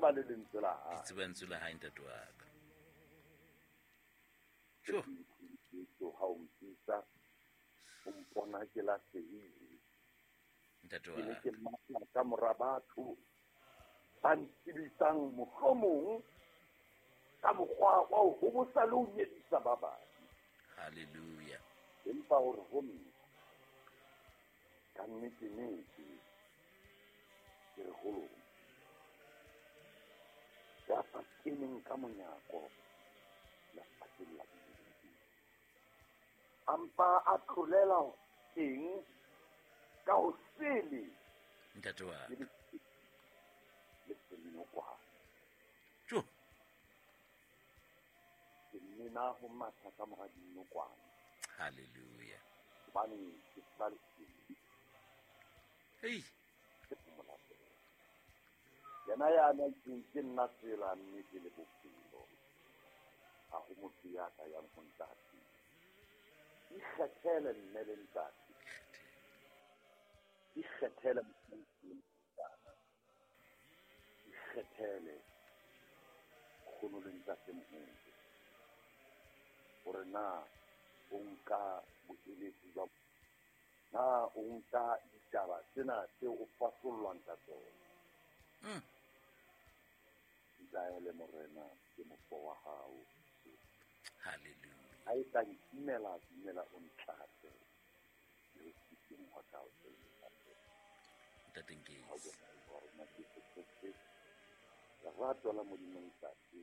tseba le lentswe la hae. Ke tseba lentswe la hae, ntate wa ka. Sure. Jesu ha o mpitsa, o mpona ke lahlehile. Ntate Ke ne wa ke matla ka mora batho ba ntsebisang mohlomong ka mokgwa wa ho hobosa le ho nyedisa ba bang. Hallelujah. Empa hore ho nna, ka nnete nnete, ke re ho lona, ya sa keneng ka monyako lefatsheng la Modimo, a mpa a tlolela teng ka ho sele Ntate wa le le senokwane. Jo. Ke nena ho matha ka mora dinokwane. Hallelujah. Hobane ke tseba lesedi. Hey. Ke mo latela. Yena ya na itseng ke nna tsela, nnete le bophelo. Ha ho motho ya ka yang ho ntate. Ikgethele mme le ntate. Ikgethele mme le ntate. Ikgethele kgono le ntate moholo. Hore na o nka boeletsi ba na o nka ditaba tsena tseo o fasollwang ka tsona. Ntaele morena ke mofo wa hao. Hallelujah. Ha e ka nkimela, dumela o ntlatse. Le ho siteng hwa ka o tse. Ntate Nkesi. Ha o bona wa rona Jesu Kreste. Lerato la Modimo Ntate.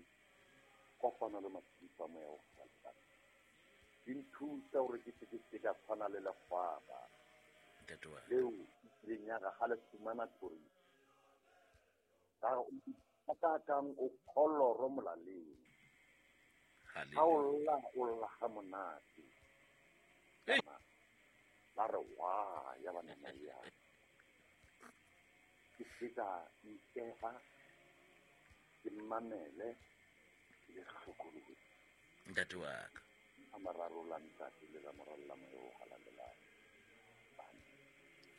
Kopano le matshediso a moya o halalelang. Di nthusa hore ke se ke se ka tshwana le lekgwaba. Ntate wa ka. Leo e kileng ya re ha le fumana thoriso. Ka re o ka kang o kholoro molaleng. Ha o lla, o lla ha monate. Hey. Ba re wa, ya ba nama ya. Ke se ka nkeha, ke mamele, ke le hlokolosi. Ntate wa ka. A mararo la ntate le la moralo la moya o halalelang. Amen.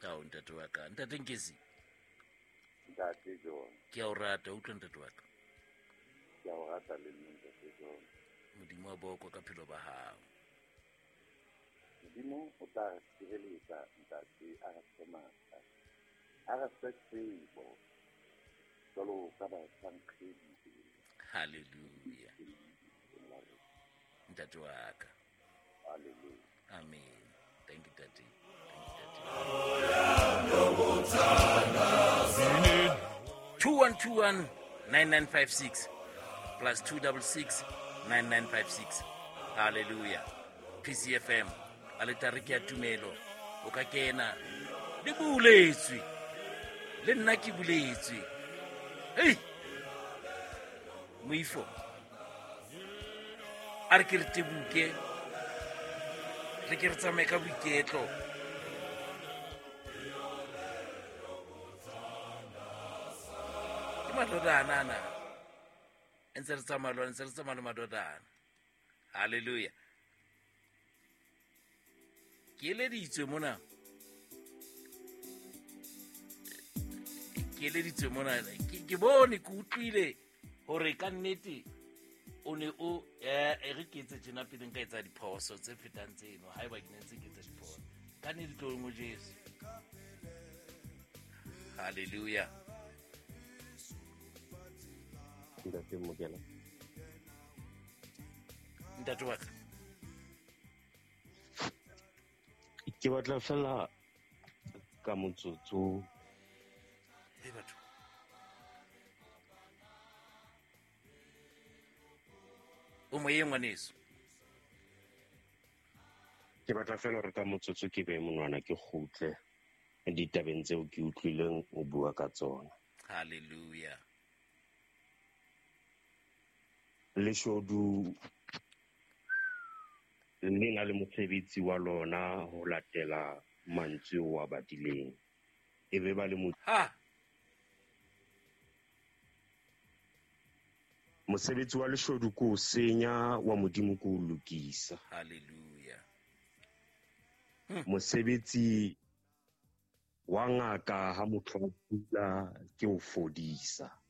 Ao, ntate wa ka. Ntate Nkesi. Ntate John. Ke a o rata, utlwa ntate wa ka. Ke a o rata le nna, ntate John. Modimo wa bokwa ka phelo ba hao. Modimo o tla re tshireletsa, ntate, a re fe matla, a re fe tsebo, jwalo ka batlhankgedi. Hallelujah. Ntate wa ka. Hallelujah. Amen. Thank you, Daddy. Thank you, Daddy. 2121 9956 plus 266 9956. Hallelujah. PCFM. Aletare ke ya tumelo. O ka kena. Le buletswe. Le nna ke buletswe. Hey. Moifo. A re ke re tebuke. Re ke re tsamaye ka boiketlo. Ke madodana ana. Ntse re tsamaya le ona, ntse re tsamaya le madodana. Hallelujah. Ke eleditswe mona. Ke eleditswe mona. Ke bone, ke utlwile hore ka nnete o ne o, e re ke etse tjena pele nka etsa diphoso tse fetang tseno, haeba ke ne ntse ke etsa diphoso. Ka nnete tlohong ho Jesu. Hallelujah. Ntate Mokela. Ntate wa ka. Ke batla fela ka motsotso. Hey, batho. O moyeng ngwaneso. Ke batla fela hore ka motsotso ke be monwana ke kgutle ditabeng tseo ke utlwileng o bua ka tsona. Hallelujah. Leshodu le na le mosebetsi wa lona ho latela mantswe o a badileng. E be ba le mo- Ha! Mosebetsi wa leshodu ke o senya, wa Modimo ke o lokisa. Hallelujah. Mosebetsi wa ngaka ha motho a kula ke o fodisa.